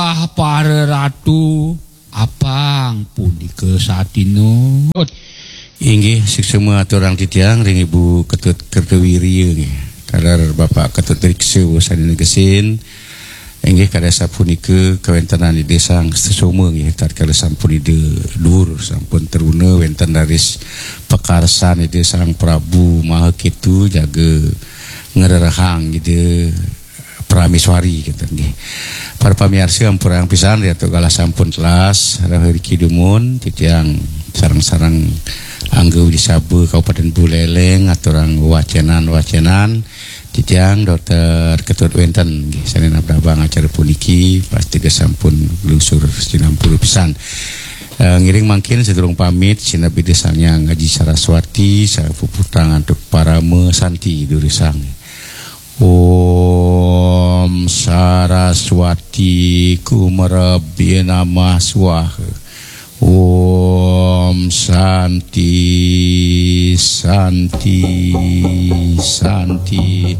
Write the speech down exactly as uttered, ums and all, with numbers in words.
Ah, para ratu, apang punika satinut. Inggih, suksma aturang titiang ring Ibu Ketut Kertawirya nggih. Taler Bapak Ketut Riksa sane negesin. Inggih, kadi sapunika kawentenan Ida Sang Sesoma nggih, tatkala sampun Ida duur, sampun truna wenten raris pakarsan Ida Sang Prabu Maha Ketu jaga ngrerehang Ida Prameswari, kenten nggih. Para pamiarsa, ampurang pisan, riantuk galah sampun telas, rauh riki dumun, titiang sareng-sareng angga Widisaba Kabupaten Buleleng, aturang wacenan-wacenan, titiang Dokter Ketut wenten, nggih, sane nabdabang acara puniki, pastika sampun lungsur sinampura pisan. Eh, ngiring mangkin sadurung pamit, sineb Ida Sang Hyang Aji Saraswati, sapuputang antuk parama santi durusang. Om Saraswati Kumarabya Namah Swaha. Om Santi, Santi, Santi.